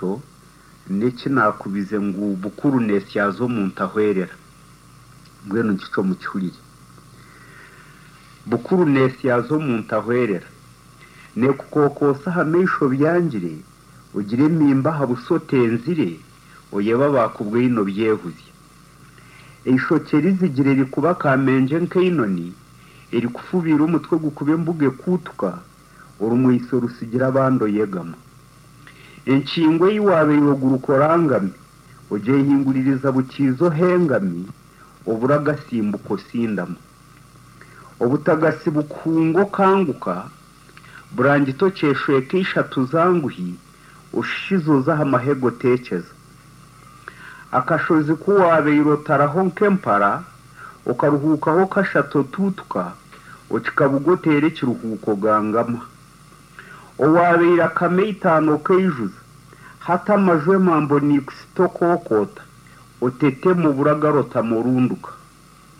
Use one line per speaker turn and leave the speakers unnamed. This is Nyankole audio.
Ekyo n'eki naakubize ngu bukuru neesyaza omuntu ahwerera. Mbwenu nkikyo mukihurire. Bukuru neesyaza omuntu ahwerera. Neekukookoosa aha maisho byangire, ogire emiimba aha buso otenzire, oyebe abaakubwaine obyehuzye. Eishokye rizigire rikuba kamengye nk'einoni, erikufubiire omutwe gukuba embuga ekuutuka, orumweiso rutsigira abandi oyegama. Enkingo ei waabaire oguruka orangami, ogyehinguririza bukiiza ohengami, obura agasimbuka osindama. Obutagatsi bukuhunga okanguka, burangiti okyeshweka eishatu zanguhi, oshishiza oza aha mahega oteekyeza. Akashozi ku waabaire otaraho nk'empara, okaruhuukaho kashatu otuutuka, okikabuga oteera ekiruhuuko ogangama. Owaabaire akama eitaano okaijuza, hati amaju emambo niikusita okookoota, otetema obura agarotama orunduka.